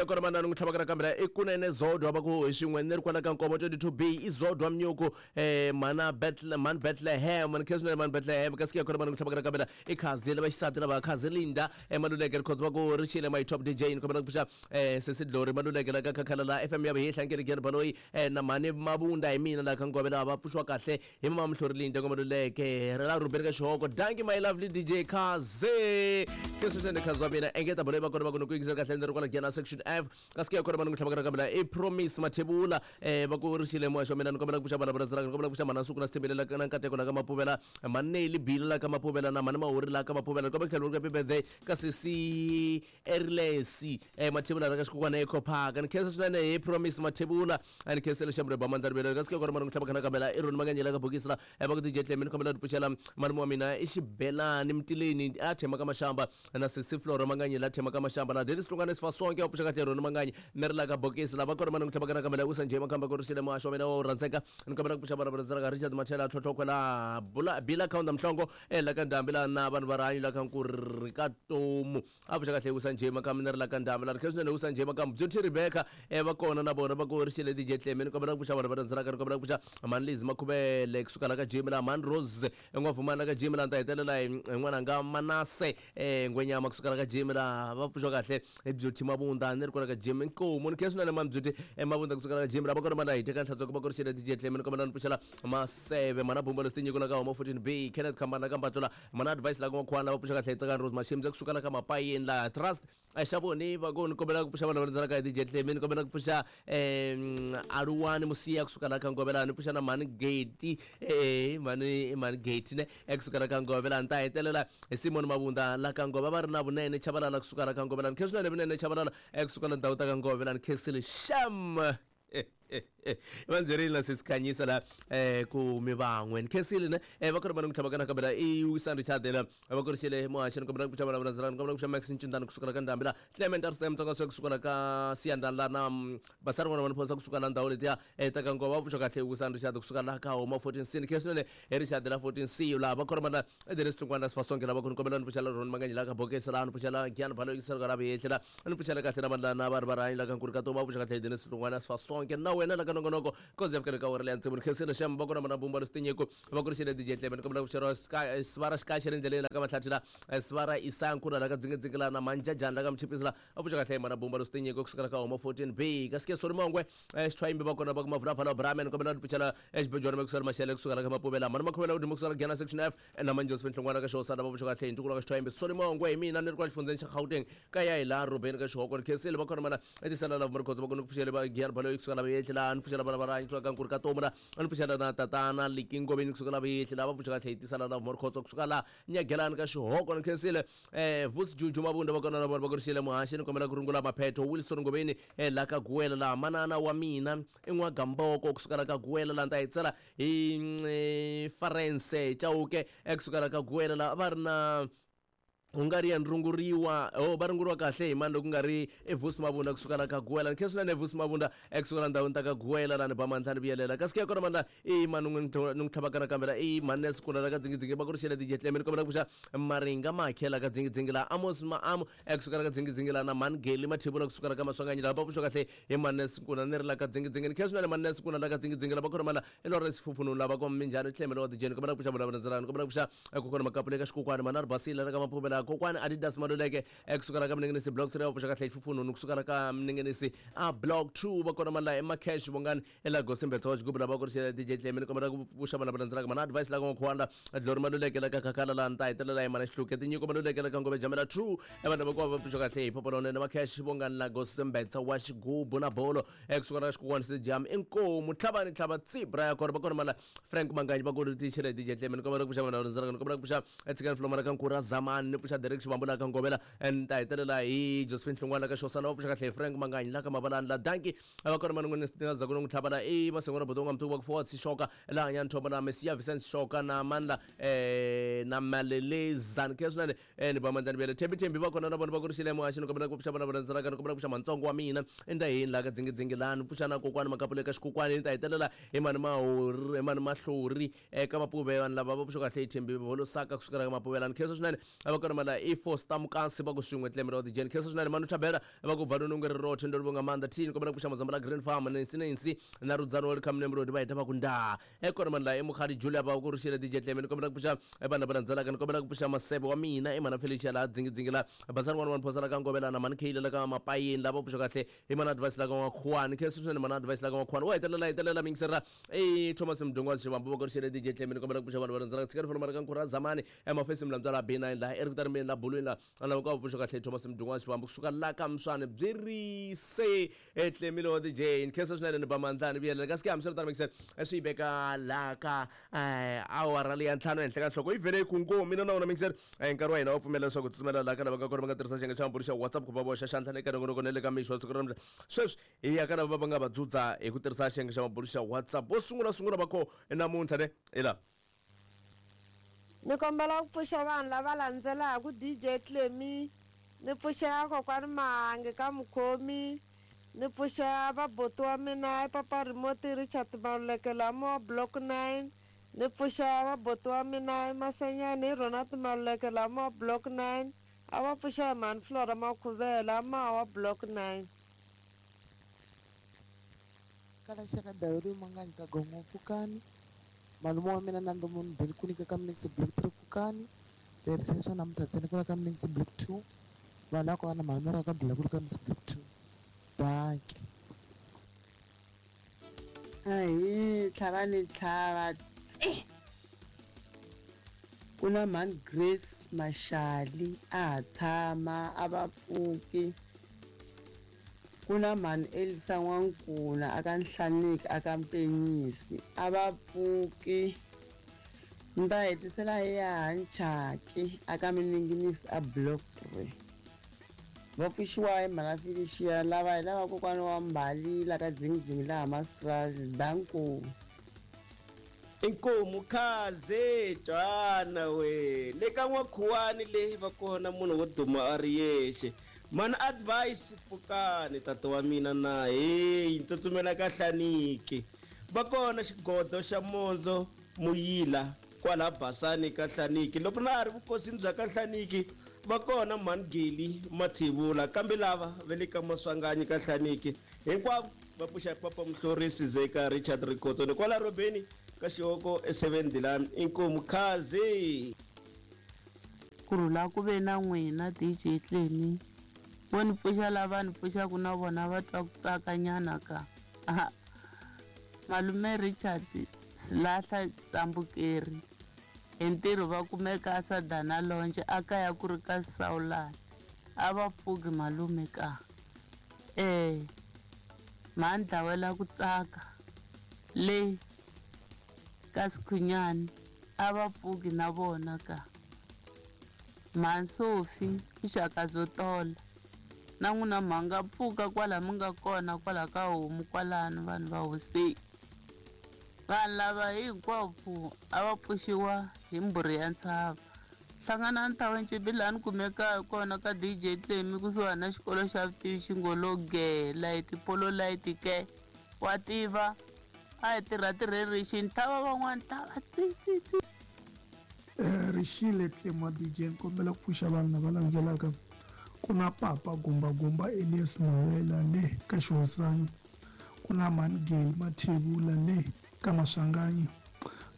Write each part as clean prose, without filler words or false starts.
Kona manani n'wi tlhavaka nakambe la i kunene Zodwa va ku hi xin'we ni ri kwala ka Nkomo 22B i Zodwa Mnyuku mhana mhani Bethlehem ni khensa swinene mhani Bethlehem kasi ke kona mani n'wi tlhavaka nakambe la i Khazi lava xisati lava Khazi Linda Maluleke Rikhotso va ku ri xile my top DJ ni kombela ku pfuxa sesi Glory Maluleke la ka Khakhala la FM ya Vihehla Nkele Giyani Baloyi na mhani Mabunda hi mina la ka Ngove lava va pfuxiwa kahle hi mama Mhlori Linda Maluleke ra la Rubeni ka Xihoko danki my lovely DJ Khazi ke sweswi Khazi wa mina engeta baloyi va kona va ku ni ku yingisela kahle ni ri kwala Giyani section F kasi ke kona va ni n'wi tlhavaka nakambe la i Promise Mathebula va ku ri xile muhaxi wa mina ni kombela ku pfuxa vana va rhandzaka ni kombela ku pfuxa mhana Nsuku na Sithembile la na Nkateko la ka Mapuvela mhani Nelly Bila la ka Mapuvela na mhani Mahuri la ka Mapuvela ni kombela ku tlhela ku happy birthday ka sesi Erlesi Mathebula la ka Xikukwana Eco Park ni khensa swinene hi Promise Mathebula ni khensele xambule ba mandla rivele kasi ke kona mani n'wi tlhavaka nakambe la i Roni Manganyela ka bokisi la va ku DJ Clem ni kombela ku pfuxela malume wa mina i Xibelani Mtileni a thema ka Mashamba na sesi Flora Manganyi la thema ka Mashamba la Dennis Hlongwane Sifasonke wa pfuxa kahle Roni Manganyi ni ri la ka bokisi la va kona mani n'wi tlhavaka nakambe la wisa njhe makhamba ku ri xile muhaxi wa mina wa rhandzeka ni kombela ku pfuxa vana va rhandzaka Richard Machela Tlhotlhokwe la Bula Bila Kaunda Mhlongo la ka Ndhambi la na vanhu va rihanyo la ka Nkurhi ka Tomu a pfuxa kahle wisa njhe makhamba ni ri la ka Ndhambi la ri khe swinene wisa njhe makhamba Beauty Rebecca va kona na vona va ku ri xile DJ Clem ni kombela ku pfuxa vanhu va rhandzaka ni kombela ku pfuxa Mhani Liz Makhuvele kusuka la ka Jimmy la Mhani Rose N'wavhumani la ka Jimmy la ni ta hetelela hi n'wananga Manase Ngwenyama kusuka la ka Jimmy la va pfuxiwa kahle hi Beauty Mabunda ni ri kwala ka Jimmy Nkomu ni khensa swinene mani Beauty Mabunda kusuka la ka Jimmy la va kona mani hi teka nhlantsweko va ku ri xile DJ Clem ni kombela ni pfuxela Maseve Mhana Bumba leswi tinyiko la ka Homa 14B Kenneth Khambani la ka Mbatlo la Mhana Advice la ka N'wakhwana la va pfuxa kahle hi Tsakani Rose Mashimza kusuka la ka Mapayeni la Trust xa voni va ku ni kombela ku pfuxa vanhu va rhandzaka hi DJ Clemi ni kombela ku pfuxa Aluwani Musiya kusuka la ka Ngovela ni pfuxa na Mhani Geti mhani mhani Geti ne kusuka la ka Ngovela ni ta hetelela hi Simon Mabunda la ka Ngova va ri na Vunene Chabalala kusuka la ka Ngovela ni khe swinene Vunene Chabalala kusuka la ndhawu ta ka Ngovela ni khensile sham va ndzi na sesikhanyisa la ku mi van'we ni khensile ne va kona va ni ku tlhava kana kambe la i Wisan Richard la va kurixile muhaxi ni kombela ku pfuxa vana va ni kombela ku pfuxa Max Ncindani kusuka la ka Ndhambi la Clement RCM Tsonga swa kusuka la ka Siyanda la na Basari n'wana va ni phonisa kusuka la ndhawu letiya ta ka Nkova va pfuxa kahle Wisan Richard kusuka la ka Homa 14C ni khensile ne hi Richard la 14C la va kona va la Dennis Hlungwana Sifasonke la va ku ni kombela ni pfuxa la Ron Manganyi la ka Bokesi la ni pfuxa la Giyani Balo yingisela ka la Vuyehli la ni pfuxela kahle na vanhu la na vanhu va rihanyo la ka Nkuri ka Toma va pfuxa kahle Dennis Hlungwana Sifasonke na wena la ka nongonoko koze ya fikela ka awara leya tsevu ni khensile xem va kona mana bumba leswi tinyiko va ku ri xile DJ Tlebe ni kombela ku pfuxeriwa sivara xikaxe le ndleleni la ka Mahlathi la sivara Isaya Nkuna la ka Dzingidzingila la na Manjajani la ka Mchipisi la va pfuxa kahle mana bumba leswi tinyiko kusukela ka Homa 14B kasi ke Soli Mongwe Xithwayimbi va kona va ku Mavulavala Brahman ni kombela ni pfuxela Xibejwana Mekusela Mashele kusuka la ka Mapuvela mani Makhuvela Uduma kusuka la Giyani Section F na Mani Josephine Hlongwana ka Xihosana va pfuxa kahle hi ntukulu wa ka Xithwayimbi Soli Mongwe hi mina ni ri kwala xifundzeni xa Gauteng ka ya hi laha Rubeni ka Xihoko ni khensile va kona mana etisela lava Mrikhotso va ku ni ku pfuxele va Giyani Baloyi kusuka la Vuyehli laha ni pfuxela vana va rihanyo kusuka ka Nkuri ka Tomu la ni pfuxela na tatana Liki Ngoveni kusuka la Vuyehli laha va pfuxa kahle hi tisala lava Mrikhotso kusuka la Nyagelani ka Xihoko ni khensile Vusi Juju Mabunda va kona na vona va ku ri xile muhaxi ni kombela ku rungula maphetho Wilson Ngoveni la ka Guwela laha manana wa mina i N'wagamboko kusuka la ka Guwela laha ni ta yi tsala hi Farense Chauke kusuka la ka Guwela laha va ri na Hungarian runguriwa oh va runguriwa kahle hi mani loko nga ri eVusi Mabunda kusuka la ka Guwela ni khensa swinene Vusi Mabunda ekusuka la ndhawini ta ka Guwela la ni ba mandla ni vuyelela kasi ke kona mandla i mani n'wi ni n'wi tlhavaka nakambe la i mani Nelson la ka Dzingidzingi va ku ri xele DJ Clem ni kombela ku pfuxa Maringa Makhe la ka Dzingidzingi la Amos Maamu ekusuka la ka Dzingidzingi la na Mani Geli Mathebula kusuka la ka Maswanganyi la va pfuxa kahle hi mani Nelson Nkuna ni ri la ka Dzingidzingi ni khensa swinene mani Nelson Nkuna la ka Dzingidzingi la va kona mandla i Lawrence Fufunu lava kwa Minjhani Tlhemelo wa DJ ni kombela ku pfuxa vona vandzalani ni kombela ku pfuxa kokwana Makapule ka Xikokwani Manari Basile la ka Maphumela kokwani Adidas Maluleke kusukela ka Mninginisi Block 3 va pfuxa kahle Fufunu ni kusukela ka Mninginisi a Block 2 va kona mani la Emacash Vongani ela Gosimbetsa wa xigubu lava ku ri DJ Tlhemelo ni kombela ku pfuxa vona vandzelaka mana advice la ka N'wakhwanda Glory Maluleke la ka Khakhala la ni ta hetelela hi mana Xihluke Tinyiko Maluleke la ka Ngove Jamela 2 evanhu lava ku va pfuxa kahle hi phopho lonene Macash Vongani la Gosimbetsa wa xigubu na bolo ekusuka na xikokwani stadium inkomu tlhavani tlhava tsibra ya kona va kona mala Frank Manganyi va kona tichele DJ Clement ni kombela ku pfuxa vanhu rindzela ni kombela ku pfuxa etshikani Flomana ka Nkura Zamani ni pfuxa Derek Xivambula ka Ngovela ni ta hetelela hi Josephine Hlongwana ka Xosana va pfuxa kahle hi Frank Manganyi la ka Mavalani la Danki va kona mani n'wini ni nga za ku ni n'wi tlhava la i Masengo Botonga Mtuku va ku Forward Sishoka la hanya Nthomba na Mesiya Vincent Shoka na Mandla na Maleleza ni khensa swinene ni ba mandla ni vuyele Thembi Thembi va kona na vona va ku ri xile muhaxi ni kombela ku pfuxa vana va landzelaka ni kombela ku pfuxa mantsongo wa mina i ni ta yini laha ka dzingidzingi laha ni pfuxa na kokwani makapule ka xikokwani ni ta hetelela hi mani mahori hi mani mahlori eka mapuve vanhu lava va pfuxa kahle hi Thembi Volosaka kusukela ka Mapuve laha ni khensa swinene a va kona. mala i Foster Mukasi va ku swin'we Clemmy wa DJ. Khensa swinene manu Thabela va ku valoni ungeri rothe ndo livonga maanḓa thini kombela ku pfuxa muzamba la Green Farm Nancy Nancy na Rudzano welcome Nemrodi va heta va ku ndaa e kona mani la i Mukhadi Julia va ku rixile DJ Clemmy ni kombela ku pfuxa vanhu lava landzelaka ni kombela ku pfuxa Masebe wa mina i mana Felicia la dzingi la Basani 11 Phosa la ka Ngovelana mani Kheyile la ka Mapayeni lava pfuxa kahle i mana advice la ka N'wakhuwani khensa swinene mana advice la ka N'wakhuwani wa hetelela hetelela mingisera i Thomas Mdungwazi Xivambu va ku rixile DJ Clemmy ni kombela ku pfuxa vanhu va landzelaka tshikani fona mara ka Nkhura Zamani emafesi Mlambyala la B9 la Eric Tarimeni la Bulwini la lava ku pfuxa kahle Thomas Mdungwazi Xivambu kusuka la ka Mswane byi ri se Clemmy wa DJ ni khensa swinene ni ba mandla ni vuyelela kasi ke hambiswiritano mingisela swi yi veka la ka awara leya ntlhanu ehenhla ka nhloko yi vhele yi ku ngo mina na wona mingisela nkarhi wa hina wa pfumela leswaku hi tsutsumela la ka lava nga kona va nga tirhisa xiyenge xa mabulu xa WhatsApp ku va boxa xandla eka nongonoko na le ka mixo wa siku ra namuntlha sweswi hi ya ka lava va nga va dzudza hi ku tirhisa xiyenge xa mabulu xa WhatsApp vo sungula sungula va koho namuntlha ne hi la. Ni kombela ku pfuxa vanhu lava landzelaku DJ Clemmy, ni pfuxa kokwani Mahangi ka Mukhomi, ni pfuxa vabuti wa mina i papa Remote Richard Maluleke lamo Block 9, ni pfuxa vabuti wa mina i Masenyani i Ronald Maluleke lamo Block 9, a va pfuxa hi mhani Flora Makhuvela mawa Block 9. Kala xaka daweri manganyi ka gongo pfukani malume wa mina Nando munhu beli ku nyika ka Mnix Block 3 pfukani tirhisa swa namuntlha ntsena ku la ka Mnix Block 2 vanhu lava kona malume ra ka bila ku ri ka Mnix Block 2 danke. Ahi tlhava ni tlhava tsi ku na mhani Grace Mashali a ha tshama a va pfuki ku na mhani Elisa N'wankuna a ka Nhlaniki a ka Mpenyisi a va pfuki ni ta hetisela hi ya Nchaki a ka Mininginisi a Block 3 va pfuxiwa hi mhana Felicia lava hi lava kokwana wa Mbali la ka Dzingidzingi laha Mastral danko. Inkomu khaze twana we le ka N'wakhuwani le va kona munhu wo duma a ri yexe mana advice pfukani tata wa mina na heyi ni tsutsumela ka Hlaniki va kona xigodo xa Mondzo Muyila kwala Basani ka Hlaniki loko na ha ri vukosini bya ka Hlaniki va kona mhani Geli Mathevula kambe lava va le ka Maswanganyi ka Hlaniki hinkwavo va pfuxa papa Muhlorisi Zeka Richard Rikhotso ni kwala Robeni ka Xihoko e 7 Dilani inkomu khaze. Ku rhula ku ve na n'wina DJ Clemmy vo ni pfuxa lava ni pfuxaku na vona va twa ku tsaka nyana ka malume Richard Silahla Tsambukeri hi ntirho va kumeka a Sadana Lonje a kaya ku ri ka Sawulani a va pfuki malume ka mhani dlawela ku tsaka le ka Sikhunyani a va pfuki na vona ka mhani Sophie vuxaka byo tola na n'wina mhanga pfuka kwala mi nga kona kwala ka homu kwalano vanhu va hosi vanhu lava hinkwavo a va pfuxiwa hi mbhuri ya ntshava hlangana ni Ncibi laha ni kumekaka kona ka DJ Clemmy kusuhani na xikolo xa vutivi xingolo ge light polo light ke wa tiva a hi tirha tirherixini tlhava van'wani tlhava tsi tsi tsi. Rixile Clemmy wa DJ ni kombela ku pfuxa vanhu lava landzelaka ku na papa Gumba Gumba Elias Mawela le ka Xihosana ku na mhani Geli Mathevula le ka Maswanganyi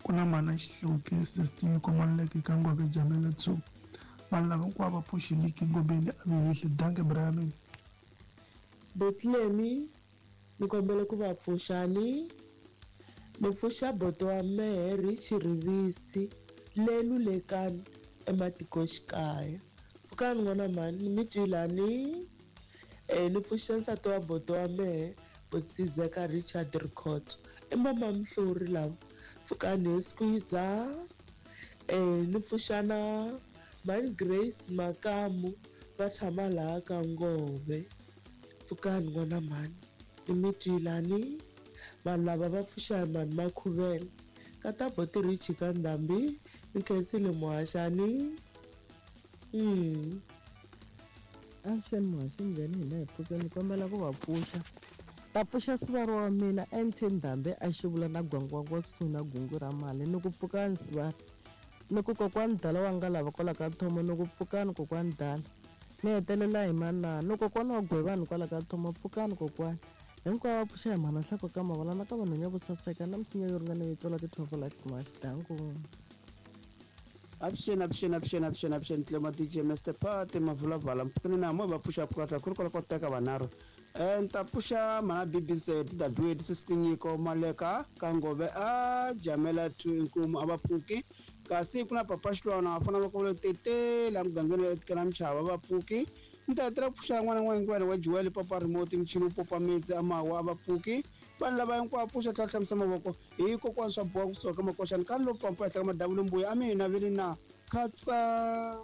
ku na mhana Xihluke Sister Komaleke ka Ngwake Jamela 2 vanhu lava hinkwavo va pfuxiliki ngobeni a vihihli danke Brian. Bethlehem ni kombela ku va pfuxani ni pfuxa boto wa mehe Rich Rivisi le Lulekani ematikoxikaya pfukani n'wana mhani ni mi twilani ni pfuxa nsati wa boto wa mehe Botsizeka Richard Rikhotso i mama Mhlori lava pfukani hi squeezer ni pfuxa na mhani Grace Makamu va tshama laha ka Ngove pfukani n'wana mhani ni mi twilani vanhu lava va pfuxa hi mhani Makhuvela ka ta boti Rich ka Ndhambi ni khensile muhaxani. Avuxeni muhaxi njhani hina hi pfukeni kombela ku va pfuxa ta pfuxa sivara wa mina NT Ndhambi a xivula na gwangwangwa kusuhi na gungu ra mali ni ku pfukani sivara Ni ku kokwani dala wa nga lava kwala ka thomo, ni ku pfukani kokwani dala. Ni hetelela hi manana, ni kokwana wa gwevani kwala ka thomo, pfukani kokwani. Hinkwavo va pfuxa hi mhana nhloko ka mavala na ka vanhwenya vo saseka na misinya yo ringana yo tswala ti-12 likes maxidangu. Avuxeni, avuxeni, avuxeni, avuxeni, avuxeni, Tlema DJ Mr Party Mavulavala, mpfukeni na mo va pfuxa pfuka ku ri kwala ko teka vanharhu. Ni ta pfuxa mhana BBC Dadwet Sister Nyiko Maleka ka Ngove a Jamela 2 Inkomu a va pfuki. Kasi ku na Papa Xilwana va fana va kovela tete la mugangeni etikela Mchava va pfuki. Ni ta hetelela ku pfuxa n'wana n'wangwena wa Joel Papa Remote Mchini Popa Mitsi Amawa a va pfuki. Vanhu lava hinkwavo pfuxa tlhela hlamusa mavoko hi kokwani swa boha kusuka ka makoxani ka lo pampa ehenhla ka madavulu mbuya a mina vini na khatsa.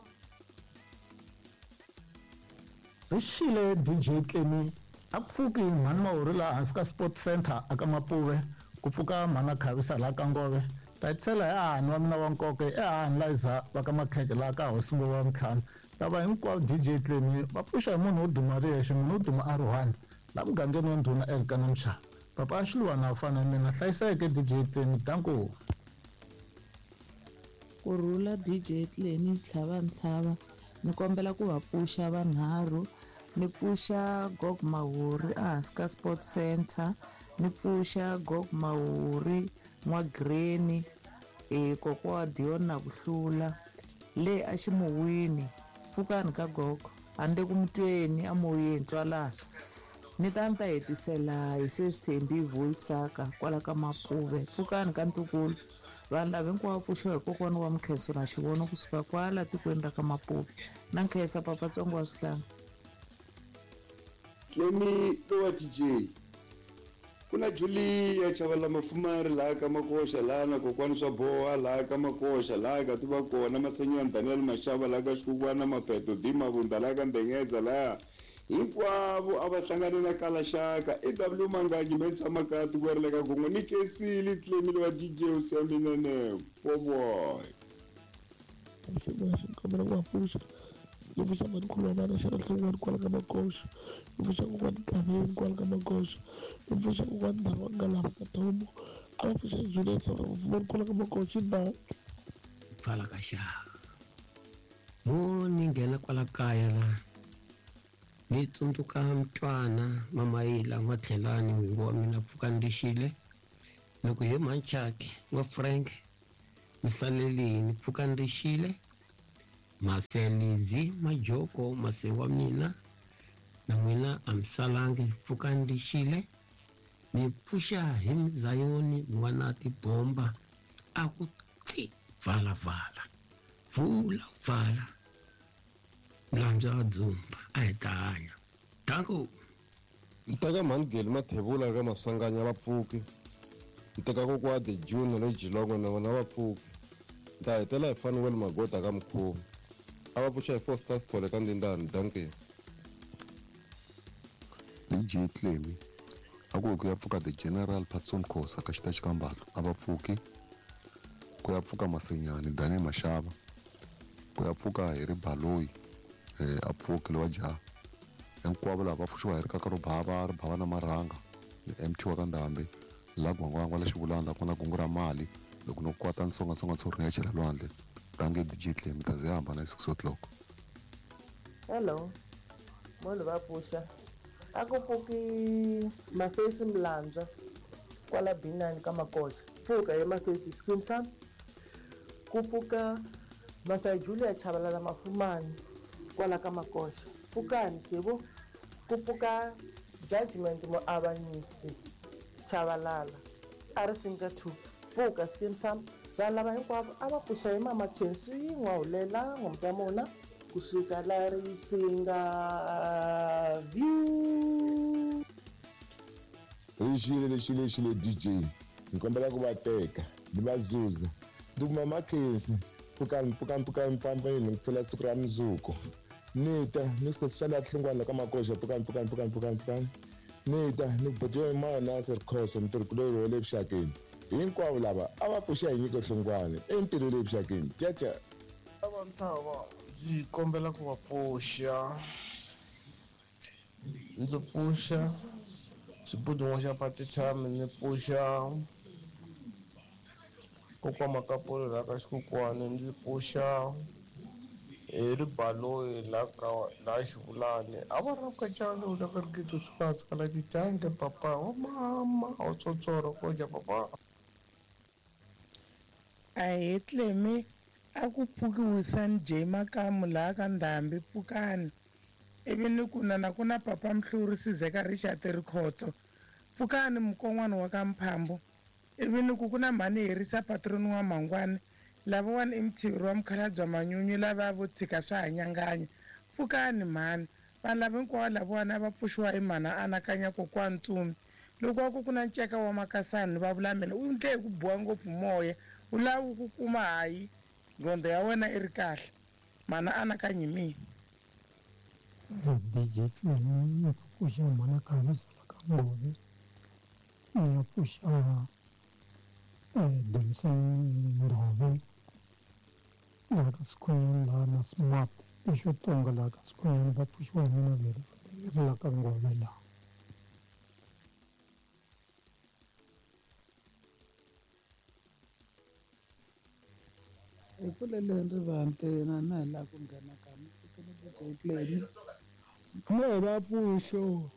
Rixile DJ Tlemi a ku pfuki mhani Mahuri laha hansi ka Sport Center aka Mapuve ku pfuka mhana Khavisa laha ka Ngove ta hetisela hi hahani wa mina wa nkoka i hahani Liza va ka Makheke laha ka Hosi Ngove wa Mtlhanu lava hinkwavo DJ Tlemi va pfuxa hi munhu wo duma ri yexe munhu wo duma a ri one laha mugangeni wa ndhuna Elkana Mshava papa a Xiluwana a fana na mina hlayiseke DJ Tlemi danko. Ku rhula DJ Tlemi tlhava ntshava ni kombela ku va pfuxa vanharhu ni pfuxa Gog Mahuri ehansi ka Sport Center ni pfuxa Gog Mahuri N'wa Greni kokwa wa Dion na ku hlula le a ximuwini pfukani ka gogo handle ku mutweni amoyeni tswalana ni ta ni ta hetisela hi sesithembi Vulisaka kwala ka Mapuve pfukani ka ntukulu vanhu lava hinkwavo pfuxiwa hi kokwana wa Mkhenso na xivono kusuka kwala tikweni ra ka Mapuve na nkhensa papatsongo wa swihlanga. Tlemi lowa DJ ku na Julia Chavala Mafumari laha ka Makoxa laha na kokwani swa boha laha ka Makoxa laha ka tiva kona Masenyani Daniel Mashava laha ka Xikukwana Mapeto D Mavunda laha ka Ndengeza laha hinkwavo a va hlangane na Kalaxaka EW Manganyi Mensa Makati ku ri ka Gongo ni Kesili Tlemi lowa DJ Useminene Boboy. Xikombelo ku va pfuxa ni pfuxa mhanikhulu wa vana xana hlongwani kwala ka Makoxa ni pfuxa kokwani Gaveni kwala ka Makoxa ni pfuxa kokwani Ndhari wa Ngalava ka Thomo a va pfuxa Juliet Mafumani kwala ka Makoxa na pfala ka xava mo ni nghena kwala kaya la ni tsundzuka mntwana Mamayila N'watlhelani n'wingi wa mina pfuka ndixile loko hi Manchaki wa Frank misalelini pfuka ndixile Maselizi Majoko mase wa mina na n'wina a misalangi pfuka ndixile ni pfuxa hi Mzayoni n'wana tibomba a ku tli vala vala vula vala mlandza wa dzumba a hi ta hanya danko. Nteka mhani Mathebula ka Maswanganya va pfuki nteka kokwa de June le Jilongo na vona va pfuki nta hetela hi Fanuel Magota ka Mkhuva a va pfuxa hi Foster Sithole ka Ndindani danke. DJ Tlemi a ku ya pfuka the General Patson Khosa ka xitachi ka Mbatlo a va pfuki ku ya pfuka Masenyani Daniel Mashava ku ya pfuka hi ri Baloyi a pfuki lowa jaha hinkwavo lava va pfuxiwa hi ri kaka ro bava ri bava na marhanga ni MT wa ka Ndhambe la gwangwangwa la xivulana la ku na gungu ra mali loko no kwata nsongansonga ntshuri ya chela lwandle dange DJ Tlemi ta ze hambana 6 o'clock. Hello munhu va pfuxa a ku pfuki Mafesi Mlandzwa kwala B9 ka Makoxa pfuka hi Mafesi scheme sam ku pfuka Masai Julia Chabalala Mafumani kwala ka Makoxa pfukani xivo ku pfuka Judgment Muavanyisi Chabalala a ri singa 2 pfuka scheme sam vanhu lava hinkwavo a va pfuxa hi Mama Khensi N'wahulela N'wamtamona kusuka la Risinga View. Rixile lexi lexi le DJ ni kombela ku va teka ni va zuza ndi kuma Makhensi pfukani pfukani pfukani mpfampa ni ku siku ra mundzuku ni ta ni sesi xa hlungwana ka Makoxa pfukani pfukani pfukani pfukani pfukani ni ta ni botiwe mana Serikhoso mutirhikulori wa le vuxakeni hinkwavo lava a va pfuxa hi nyiko hlungwane entirho le vuxakeni tyacha. Ntshava ndzi kombela ku va pfuxa ndzi pfuxa xibudun'wa xa Patitshami ni pfuxa Kokwa Makapolo laha ka Xikokwani, ndzi pfuxa hi Ribaloyi laha ka laha Xivulani. A va ri kacani u la ka Rigidi swi kala titanke papa wa mama wa tsotsoro ko dya papa. Ahee Clemy, a ku pfuki Wisani J Makamu laha ka Ndhambi, pfukani. Ivi ni ku na na ku na papa Mhluri Sizeka Richard Rikhotso, pfukani mukon'wana wa ka Mphambo. Ivi ni ku ku na mhani Herisa Patroni wa Mhangwani, lavawani i mutshiveri wa mukhalabye Manyunyu lava vo tshika swa ha nyanganya, pfukani mhani. Vanhu lava hinkwavo lavawani a va pfuxiwa hi mhana Anakanya kokwana Ntsumi. Loko a ku ku na nceka wa Makasani va vula mina u ndle hi ku biwa ngopfu moya, u lava wu ku kuma hayi nqondo ya wena i ri kahle. Mhana Anakanyi hi mina. DJ Clemy ni ku pfuxa mhana Khavisa la ka Ngove, ni ya pfuxa Dumisani Ndhove laha ka Sikhunyani laha na Smart lexo tonga laha ka Sikhunyani va pfuxiwa hi mina vhele ri la ka Ngove laha. Hi pfuleleni rivanti na na hi laha ku nghena ka ni DJ Clemy. Mo hi va pfuxo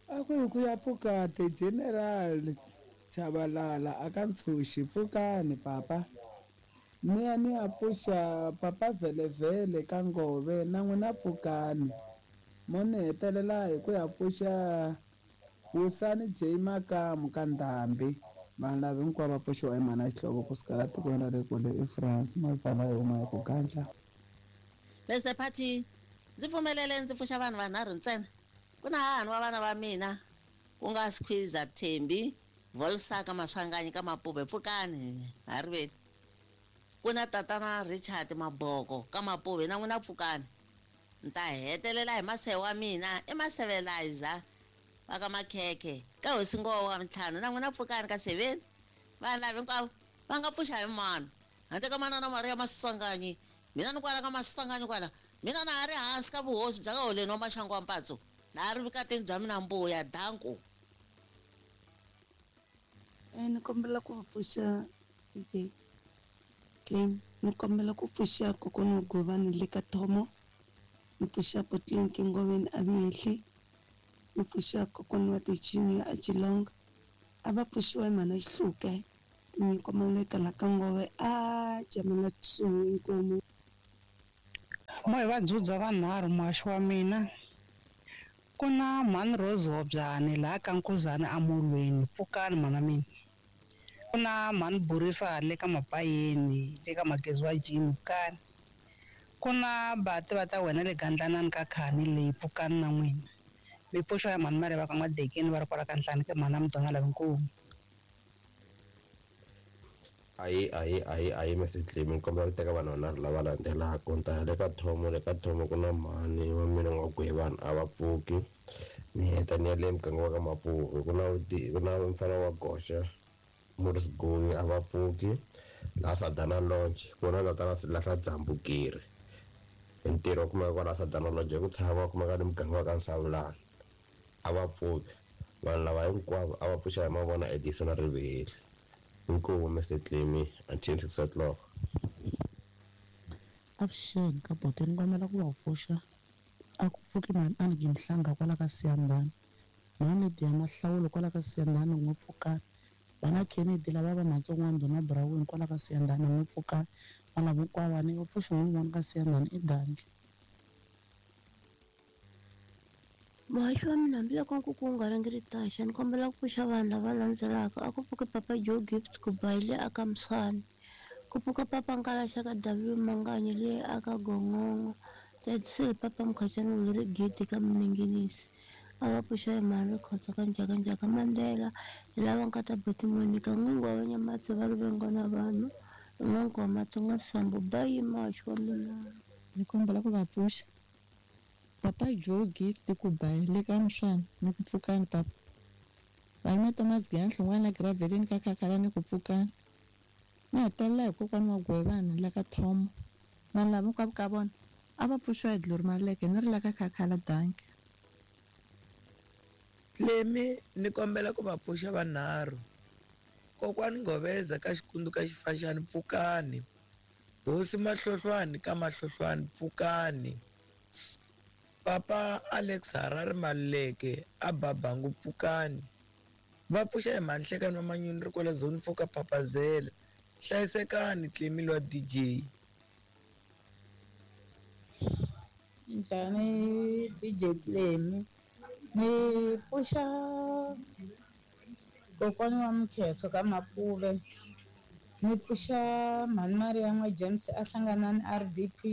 a ku hi ku ya pfuka the general Chabalala a ka Ntshuxi, pfukani papa. Ni ya ni ya pfuxa papa Vhelevhele ka Ngove na n'wina pfukani. Mo ni hetelela hi ku ya pfuxa Wisani J Makamu ka Ndhambi. Vanhu lava hinkwavo va pfuxiwa hi mhana Xihlovo kusuka la tikweni ra le kule eFrance mapfala hi huma hi ku gandla. Mr Party, ndzi pfumelele ndzi pfuxa vanhu vanharhu ntsena. Ku na hahani wa vana va mina ku nga Squeezer Thembi Volsaka Maswanganyi ka Mapuve, pfukani ha riveli. Ku na tatana Richard Maboko ka Mapuve na n'wina pfukani. Ni ta hetelela hi maseve wa mina i Masevelizer va ka Makhekhe ka hosi Ngowa wa ntlhanu na n'wina pfukani ka seveni. Vanhu lava hinkwavo va nga pfuxa hi mano handle ka manana Maria Maswanganyi. Mina ni kwala ka Maswanganyi kwala mina na ha ri hansi ka vuhosi bya ka Holeni wa Maxangu wa Mpatso, na ha ri vukatini bya mina mbuya danko. Ni kombela ku pfuxa DJ Clem, ni kombela ku pfuxa kokwana wa Govani le ka Thomo, ni pfuxa Potlinki Ngoveni a Vihehli, ni pfuxa kokwana wa Tichini a Chilonga, a va pfuxiwa hi mhana Xihluke, tinyiko Maleka la ka Ngove a jamela kusuhi inkomu. Mo hi va dzudza vanharhu muhaxi wa mina. Ku na mhani Rose Hobyani laha ka Nkuzana amolweni, pfukani mhana mina. Ku na mhani Burisa le ka Mapayeni le ka Magezi wa Jimmy, pfukani. Ku na bati va ta wena le Gandlanani ka Khani leyi, pfukani na n'wina. Mi pfuxiwa hi mhani Mareva ka N'wadekeni va ri kwala ka Nhlani ka mhana Mudonga Lavinkomu. Ayi ayi ayi ayi Mr Clem, ni kombela ku teka vanhu vanharhu lava landzelaka. Ni ta ya le ka Thomo, le ka Thomo ku na mhani wa mina N'wagwevani a va pfuki. Ni heta ni ya le muganga wa ka Mapuve ku na ku na mfana wa Goxa Morris Goyi a va pfuki. Laha Sadana Lodge ku na tatana Lahla Dzambukiri hi ntirho wa kumeka kwala Sadana Lodge hi ku tshama wa kumeka ni muganga wa ka Nsavulana a va pfuki. Vanhu lava hinkwavo a va pfuxa hi mavona Edison na Rivihehli. Inkomu Mr Clemy until 6 o'clock. Avuxeni ka bote ni kombela ku va pfuxa a ku pfuki mhani a ni Mhlanga kwala ka Siyandhani, mhani Lydia Mahlawulo kwala ka Siyandhani n'wi pfukani, vana Kennedy lava va Matsongwana Dona Brown kwala ka Siyandhani n'wi pfukani, vana hinkwavo ni va pfuxi n'wi vona ka Siyandhani i Dandla. Muhaxi wa mina hambiloko nkuku wu nga rhangeri taxa ni kombela ku pfuxa vanhu lava landzelaka. A ku pfuki papa Joe Gift ku ba hi le aka Mswani, ku pfuka papa Nkalaxa ka W Manganyi le aka Gongongo, Tatisele papa Mkhacani Wuliri Gidi ka Minengenisi. A va pfuxa hi mhani Rikhotso ka Njhakanjhaka Mandela, hi lava nkata Buti Monica n'wingi wa Vanyamatsi va Rivengo na vanhu, N'wankwa Matsonga Sambo bayi muhaxi wa mina. Ni kombela ku va pfuxa papa Joe Gift ku ba hi le ka Mswani ni ku pfukani papa. Valume Thomas Giyani Hlongwane la Graveleni ka Khakhala ni ku pfukani. Ni hetelela hi kokwana wa Gwevani la ka Thomo. Vanhu lava hinkwavo ka vona a va pfuxiwa hi Glory Maleke ni ri la ka Khakhala danki. Clemy ni kombela ku va pfuxa vanharhu. Kokwani Ngoveza ka Xikundu ka Xifaxani pfukani. Hosi Mahlohlwani ka Mahlohlwani pfukani. Papa Alex Harare Maluleke a Babangu pfukani. Va pfuxa hi manhlekani wa manyuni ri kwala zone 4 ka Papazela. Hlayisekani Tlemi lwa DJ. Njhani DJ Tlemi? Ni pfuxa kokwana wa Mkheso ka Mapuve. Ni pfuxa mhani Maria n'wa James a hlangana ni RDP.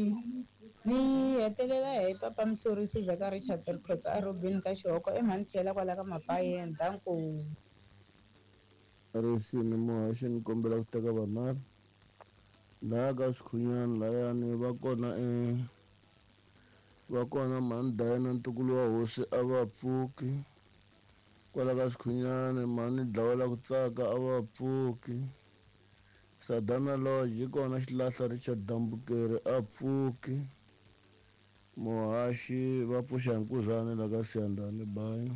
Ni hetelela hi papa Mhlorisi Zaka Richard Rikhotso a Robin ka Xihoko emhani tlhela kwala ka Mapayeni. Danko. Rixini muhaxi ni kombela ku teka vanharhu laha ka Swikhunyani layani va kona va kona mhani Dayana ntukulu wa hosi a va pfuki kwala ka Swikhunyani mhani Dlawela ku tsaka a va pfuki Sadana Lodge yi kona xilahla Richard Dambukeri a pfuki muhaxi va pfuxa hi nkuzani la ka Siyandhani bayi.